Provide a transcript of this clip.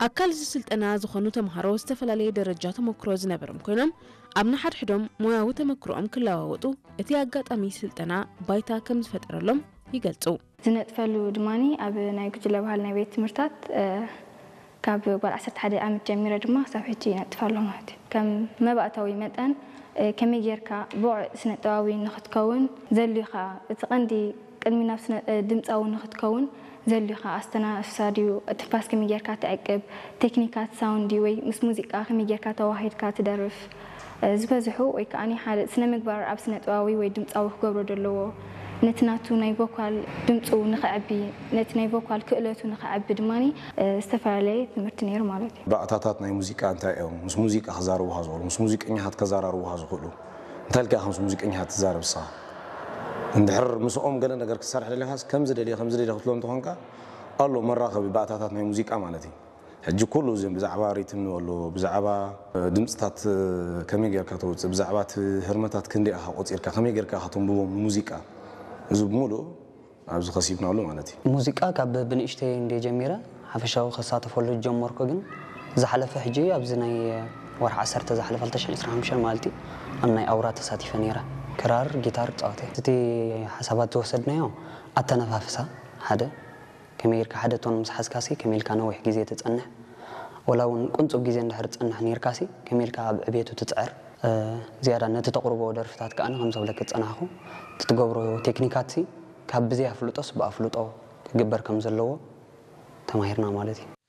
ኣካል እዚ ስልጠና ዝኾኑ ተምሃሮ ዝተፈላለየ ደረጃ ተመክሮ ዝነበሮም ኮይኖም፣ ኣብ ንሓድሕዶም ሞያዊ ተመክሮኦም ክለዋወጡ እቲ ኣጋጣሚ ስልጠና ባይታ ከም ዝፈጠረሎም ይገልጹ። ዝነጥፈሉ ድማ ኣብ ናይ ጉጅለ ባህል ናይ ቤት ትምህርታት ካብ ጓል ዓሰርተ ሓደ ዓመት ጀሚረ ድማ ክሳብ ሕጂ ይነጥፍ ኣሎ ማለት እዩ። ከም መባእታዊ መጠን ከመይ ጌርካ ብቑዕ ስነጥበባዊ ንኽትከውን ዘልዩኻ እቲ ቀንዲ ቅድሚ ናብ ድምፃዊ ንኽትከውን ዘልዩኻ ኣስተናፍሳ ድዩ፣ ትንፋስ ከመይ ጌርካ ትዕቅብ፣ ቴክኒካት ሳውንድ ድዩ ወይ ምስ ሙዚቃ ከመይ ጌርካ ተዋሂድካ ትደርፍ ዝበዝሑ ወይ ከዓ ሓደ ስነ ምግባር ኣብ ስነ ጥበባዊ ወይ ድምፃዊ ክገብሮ ዘለዎ ነቲ ናቱ ናይ ቮካል ድምፁ ንኸዕቢ ነቲ ናይ ቮካል ክእለቱ ንኸዕቢ ድማ ዝተፈላለየ ትምህርቲ ነይሩ ማለት እዩ። ባእታታት ናይ ሙዚቃ እንታይ እዮም? ምስ ሙዚቃ ክዛረቡኻ ዝኽእሉ፣ ምስ ሙዚቀኛታት ከዛራርቡኻ ዝኽእሉ እንታይ ኢልካ ምስ ሙዚቀኛታት ትዛረብ ንስኻ? እንድሕር ምስኦም ገለ ነገር ክትሰርሕ ደሊኻስ ከምዚ ደልየ ከምዚ ደልየ ክትብሎም እንተኾንካ ኣሎ መራኸቢ ባእታታት ናይ ሙዚቃ ማለት እዩ። ሕጂ ኩሉ እዚ ብዛዕባ ሪትም ንበሎ ብዛዕባ ድምፅታት ከመይ ጌርካ ተውፅእ ብዛዕባ እቲ ህርመታት ክንደይ ኢኻ ቆፂርካ ከመይ ጌርካ ኢኻ ተንብቦም ንሙዚቃ እዚ ብምሉእ ኣብዚ ከሲብናሉ ማለት እዩ። ሙዚቃ ካብ ብንእሽተይ እንደ ጀሚረ ሓፈሻዊ ከሳተፈሉ ጀመርኩ ግን ዝሓለፈ ሕጂ ኣብዚ ናይ ወርሒ ዓሰርተ ዝሓለፈ ክልተ ሽሕን ዕስራን ሓሙሽተን ማለት እዩ ኣብ ናይ ኣውራ ተሳቲፈ ነይረ። ክራር ጊታር ፃወተ እቲ ሓሳባት ዝወሰድናዮ ኣተነፋፍሳ ሓደ ከመይ ኢልካ ሓደ ቶን ምስ ሓዝካሲ ከመይ ኢልካ ነዊሕ ግዜ ትጸንሕ ወላ እውን ቁንጹብ ግዜ እንድሕር ትጸንሕ ነይርካሲ ከመይ ኢልካ ኣብ ዕቤቱ ትጽዕር ዝያዳ ነቲ ተቕርቦ ደርፍታት ከኣ ከም ዘብለክ ዝጸናሕኩ እቲ ትገብሮ ቴክኒካትሲ ካብ ብዘይ ኣፍልጦስ ብኣፍልጦ ክግበር ከም ዘለዎ ተማሂርና ማለት እዩ።